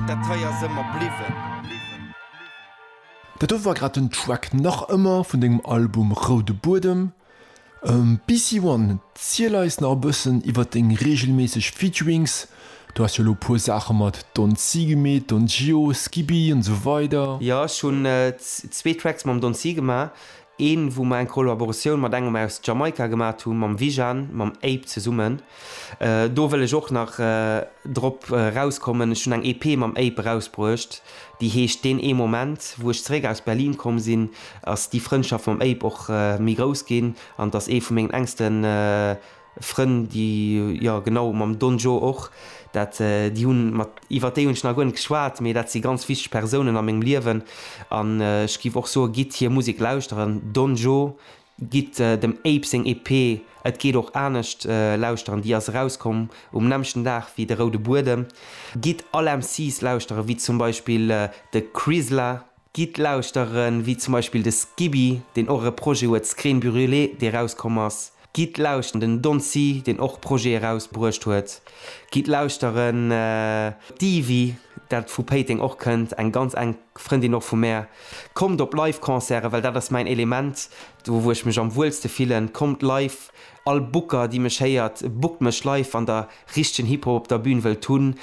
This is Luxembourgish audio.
Dat hei ass ëmmer bliwwen. Dat do war grad den Track Nach ëmmer vun dengem Album Roude Buedem. BC One, ziel eis nach e bëssen iwwer deng reegelméisseg Featurings. Du has jo elo e puer Saache mat Don C gemeet, Don Gio, Skiby an esou weider. Jo, ech hunn zwee Tracks mam Don C gemaach. Een, wou mer eng Kollaboratioun mat engem aus Jamaika gemat hunn, mam Vijan, mam Ape zesummen. Do wëll ech och nach drop erauskommen, ech hunn eng EP mam Ape erausbruecht, déi heescht Deen ee Moment. Wou ech zeréck aus Berlin komm sinn, ass déi Frëndschaft mam Ape och méi grouss ginn an et ass ee vu mengen enkste Frënn, déi, jo genau, mam Don Joe och, dat, déi hunn, mat, iwwer déi hunn ech nach guer net geschwat, mee dat si ganz wichteg Persounen a mengem Liewen an ech géif och soen, gitt hir Musek lauschteren, Don Joe, gitt dem Ape seng EP Et geet och anescht lauschteren, déi ass erauskomm um nämmlechten Dag wéi De roude Buedem. Gitt all MCs lauschteren, wéi zum Beispill de Crizzla, Gitt lauschteren, wéi zum Beispill de Skiby, deen och e Projet huet, Screen Brûlée, dee rauskomm ass. Gitt lauschteren den Don C, deen och Projete rausbruecht huet. Gitt lauschteren d'Ivy, dat vu Péiteng och kënnt, eng ganz enk Frëndin och vu mär. Kommt op Live-Concerten, well dat ass mäin Element, do wou ech mech am wuelste fillen. Kommt live, all Booker, déi mech héiert, bookt mech live, wann der richtegen Hip-Hop op der Bühn wëllt hunn.